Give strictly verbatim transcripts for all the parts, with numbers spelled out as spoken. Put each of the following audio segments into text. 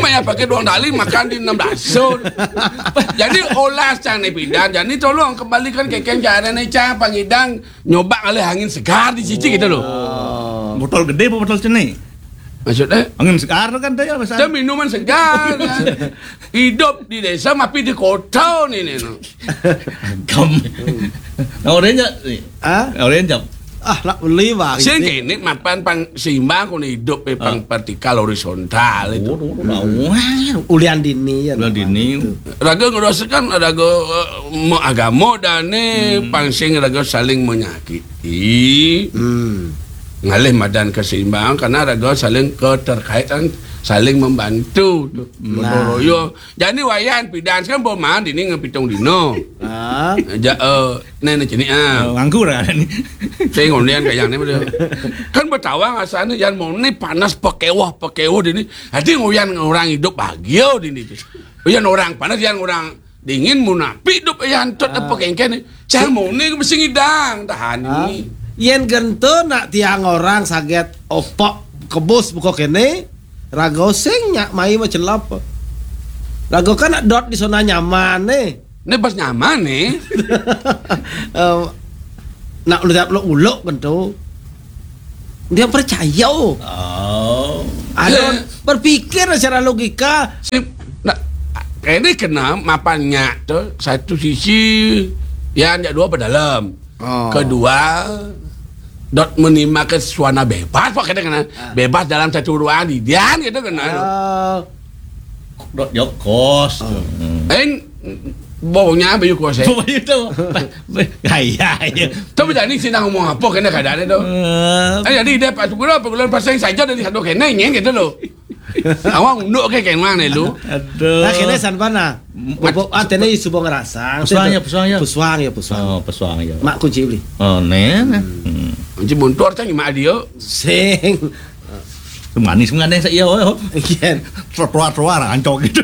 Payah pakai duang tali, makan di enam belas. So, jadi olah cang ni pidan. Jadi tolong kembalikan kekeng cara ni cang pangidang nyoba ngalih angin segar di cici gitu loh. Botol gede apa botol cenik? Maksudnya? Angin segar tu kan dia biasa. Dia minuman segar. Hidup di desa, tapi di kota ni, ni, no. Kamu. Nah, orange ni. Ah? Orange jam. Ah, nak beli bang. Sing kene mapan pang seimbang kau hidup eh, pang vertikal horizontal itu. Ulian dini ya. Bulan dini. Raga ngerasakan raga eh, agama dan ni pang sing raga saling menyakiti. Hmm. Ngalih madan keseimbangan karena raga saling keterkaitan, saling membantu tu. Nah. Gotong royong. Jadi wayan pidan kan boman dini ngepitung dino. Ah. Ja, eh, nene cini ah. Oh, nganggur kan ni. Saya ngondian kayak ni dia. Kan bertawang asalnya yang mau ni panas pekewah pekewah dini. Jadi ngoyan orang hidup bahagia dini tu. Yang orang panas, yang orang dingin, munapi hidup yang antot apa kengken ni. Cang mau ni mesti ngidang tahan Ah. ni. Yen gento nak tiang orang saget opok kebus buka kene, raga sing nyak mai macelap. Raga kan nak dot di sana nyaman ni. Ni pas nyaman ni. Eh, nak uluk uluk gento. Dia percaya. Oh. Ada Ya. berpikir secara logika. Si, nah, ini kena mapan nyak tu satu sisi yang nyak dua berdalam. Oh. Kedua dot menimba ke suana bebas pak kata kena bebas dalam satu ruangan di dian gitu kena. Ah, Dot jokos. Hmm. Eh, baunya bayu kuasa. Apa itu? Gaya ya. Tapi tadi sih nak ngomong apa kena keadaan itu. Eh, Eh, jadi dia pas gula apa gula pasang saja dari satu kena ingin gitu loh. Awang unduk ke kena ni lu. Aduh. Nah, kene san pana. Bobo ah tene subo ngerasang. Pesuang ya, pesuang ya. Pesuang ya, pesuang. Oh, pesuang ya. Mak kunci beli. Oh, nih. Nih. Hmm. Kunci buntur cang imak dia. Sing. Manis mengadeng saya oh. Kian. Trotoar-trotoar ancok gitu.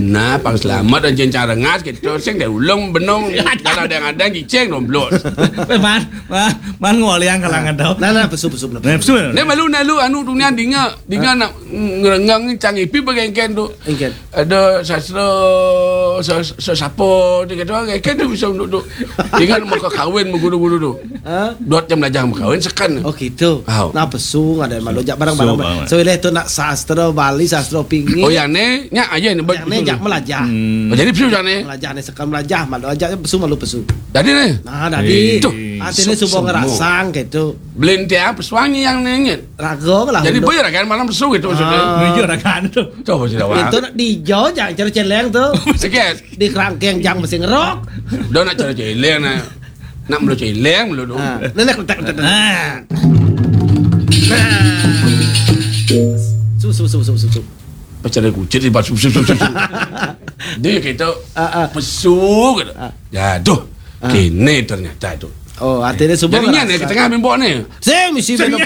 Nah, pang selamat dan jencar rengas gitu. Sing dia ulung benung. Kalau ada yang ada cicing nomblot. Man, man, man ngoliang kalangan tau. Nah, nah, pesu pesu pesu. Nah, betul. Ni malu nak lu anu dunia dinga dinga nak ngerenggang cang ipi bagaikan tu. Engken. Ada sastra sas- sesapa dia kata orang kan tu bisa untuk tu. Ingat muka kahwin guru-guru tu. Ha? Dot jam belajar berkahwin sekan. Oh gitu. Au. Nah pesu ada malu jak barang-barang. Pesu banget. So ileh tu nak sastra Bali, sastra pinggir. Oh yang ni nyak aja ni Yang ni jak melajah. Hmm. Oh, jadi pesu yang ni. Melajah ni sekan melajah malu aja pesu malu pesu. Jadi ni. Nah, tadi Eh. artinya Su- subo semua. Ngerasang gitu. Belin tiang pesuang ni yang ni ingat. Raga lah. Jadi Unduk. boleh rakan malam pesu gitu maksudnya. Ah. Menuju rakan tu. Coba sih dah. Itu nak dijau jangan cara celeng tu. Sikit. Di kerangkeng jang mesti ngerok. Dah nak cara celeng nak. Nak melu celeng melu tu. Ah, nenek letak letak. Nah. Nah. Su su su su su. Su. Macam ada kucing di batu. Dia kata Ah, ah. pesu kata. Ah. Jatuh. Ah. Kini ternyata tu. Oh, artinya subo. Jadi ni ke tengah mimbok ni. Sing mesti minum.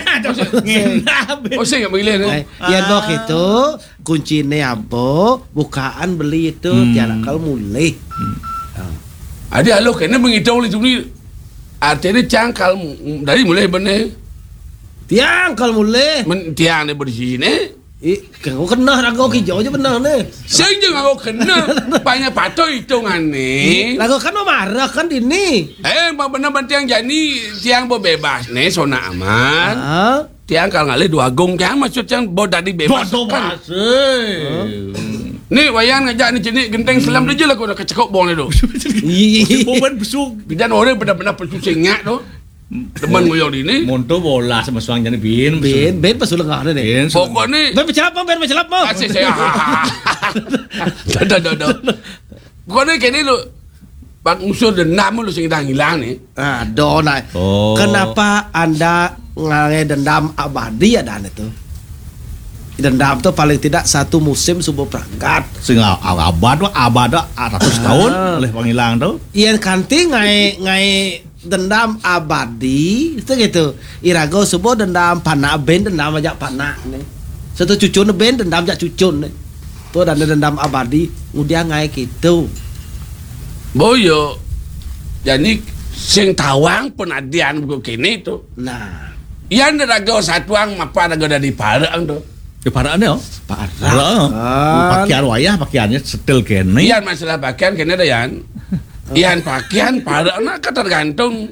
Oh, saya ingat begini ni. Eh, ya dok itu kunci ni apa? Bukaan beli itu Hmm. tiada kal mulih. Ada alo kena menghitung oleh tu ni. Artinya cangkal dari mulai benar. Tiang kal mulih. Men, tiang ni bersih ni. Ih, kau kena raga hijau je benar ni. Sing je aku kena. Banyak patut hitungan ni. Lagu kan marah kan dini. Eh, bang benar bang tiang jani tiang berbebas ni sona aman. Ah. Tiang kalau ngalih dua agung tiang maksud tiang bo tadi bebas Bodoh kan. Masih. Ni wayan ngajak ni jenik genteng selam tu je lah kau nak kecekok bong ni tu. Ih. Bukan besuk. Bidan orang benar-benar pesu singak tu. Teman ngoyong di ni. Monto bola sama suang jadi bin. Ben, ben pas lengah ni. Bin. Pokok ni Ben pecelap mah, ben pecelap mah. Kasih saya. Dah dah dah dah. Pokok ni kini lu. Bang usur dendam lu sing dah hilang ni. Ah, donai. Oh. Kenapa anda ngalih dendam abadi ada anda tu? Dendam tu paling tidak satu musim subuh perangkat. Sing abad abad abad ratus tahun oleh pangilang tu. Yang kanti ngai ngai dendam abadi itu gitu. Irago subuh dendam panak ben dendam aja panak ni. Satu cucun ben dendam aja cucun ni. Tu ada dendam abadi ngudiang ngai gitu. Boyo. Jadi sing tawang penadian buku kini tu. Nah. Yang raga satuang mapa raga dari parang tu. Di parak ni, oh. Parak. Parak. Kan. Pakaian wayah, pakaiannya setel kene. Yan masalah pakaian kene dah, Yan. Yan pakaian parak nak tergantung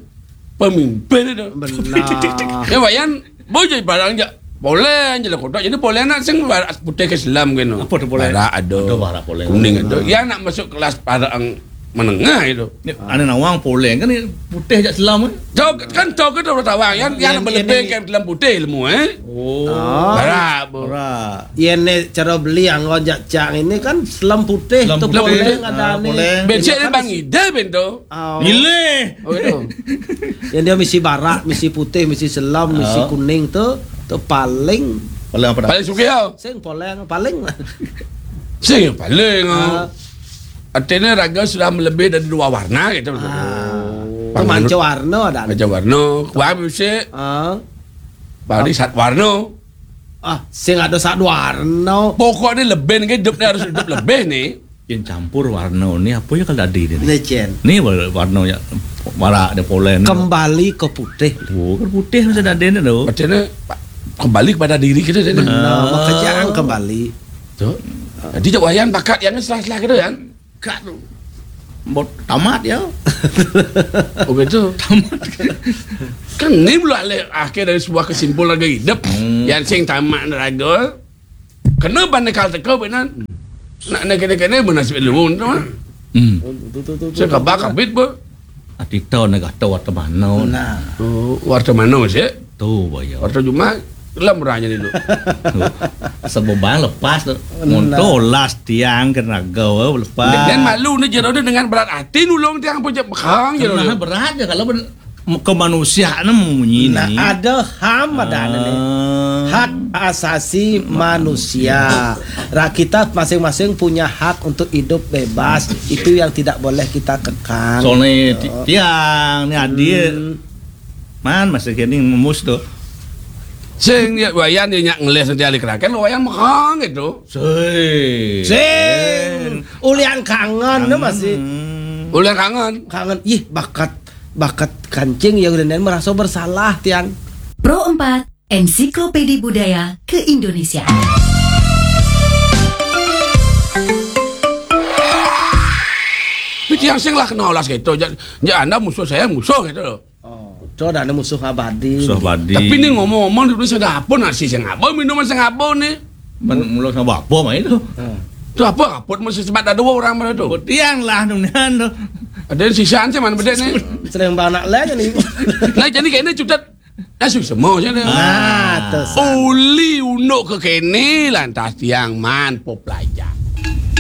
pemimpin itu. Benar. Ya, Wayan, bojo barang jak poleng, jelek kotak. Jadi poleng nak sing barak putih ke Islam kene. Apa tu poleng? Barak ada. Ada barak poleng. Kuning ada. Benar. Ya nak masuk kelas parak yang menengah itu. Ni, ane nawang poleng kan ni putih jak Islam, eh? Jauh kan jauh ke tu tawang. Yang, yang Yang lebih ini. Ke dalam putih ilmu, eh? Oh. Ah. Barak, bu. Barak. Iya ni cara beli anggon jak cang ini kan Islam putih. Islam tu putih. Poleng ada. Ah, ni. Poleng. Becek ni Bang Ida, bento. Oh. Milih. Oh, gitu. Yang dia misi barak, misi putih, misi selam, misi kuning tu, tu paling. Paling apa dah? Paling sugih, ya. Sing paling, paling. Sing paling, ah. Ah. Artinya raga sudah melebihi dari dua warna gitu. Ah. Oh. Tu manca warna dah. Manca warna. Wah, mesti. Ah. Paling sat warna. Ah, sing ada sat warna. Pokoknya lebih ni, hidup ni harus hidup lebih ni. Yang campur warna ni apa ya kalau tadi ni? Ni, Cen. Ni warna ya, barak dia poleng. Kembali ke putih. Oh, kan putih masa tadi ni tu. Macam mana? Kembali kepada diri kita tadi. Benar, ah. Makanya kembali. Tu. Jadi, Cak Wayan bakat yang selah-selah kita, kan? Kat tu. Bot tamat ya. Oh, gitu. Tamat. Kan ni pula le-, akhir dari sebuah kesimpulan raga hidup. Hmm. Yang sing tamat raga. Kena banding kal teka benan. Nak, nak kena-kena bernasib luwung tu, ah. Hmm. Tu, tu, tu, tu, tu. Saya khabar kabit, bu. Ati tahu nak kata warta mana. Nah. Oh, warta mana, sih? Tu, boyo. Warta Jumat, dalam orangnya ni, tu. Sebobang lepas tu. Nah. Monto las tiang ke raga, lepas. Dan malu ni jero dia dengan berat hati nulung tiang pun je bekang jero dia. Berat je kalau ben-, kemanusiaan munyi ni. Nah, ada ham ada ni. Ah. Hak asasi manusia. Ra-, kita masing-masing punya hak untuk hidup bebas. Itu yang tidak boleh kita kekang. Soalnya ti-, tiang ni adil. Hmm. Man, masa kini memus tu. Sing dia Wayan dia nyak ngeles nanti ahli kerakan, Wayan mekang gitu. Sing. Sing. Ulian kangen tu masih. Ulian kangen. Kangen. Ih, bakat, bakat kancing ya udah merasa bersalah, tiang. Pro empat, Ensiklopedi Budaya Keindonesiaan. Tapi tiang sing lah kenal lah gitu. Ja-, ja anda musuh saya musuh gitu loh. Oh, tu dah ada musuh abadi. Musuh abadi. Tapi ni ngomong-ngomong, dulu saya dapur nasi saya ngabau, minuman saya ngabau ni. Men-, mula sama apa main tu? Ha. Tu apa? Apa mesti sebab ada dua orang mana tu? Tiang lah tu, nian tu. Ada sisaan saya mana bedek ni? Sering banyak lah ni. Nah, jadi kayak ni cutat. Dah susah semua je ni. Ah, tu sah. Uli unduk ke kene, lantas tiang man po pelajar.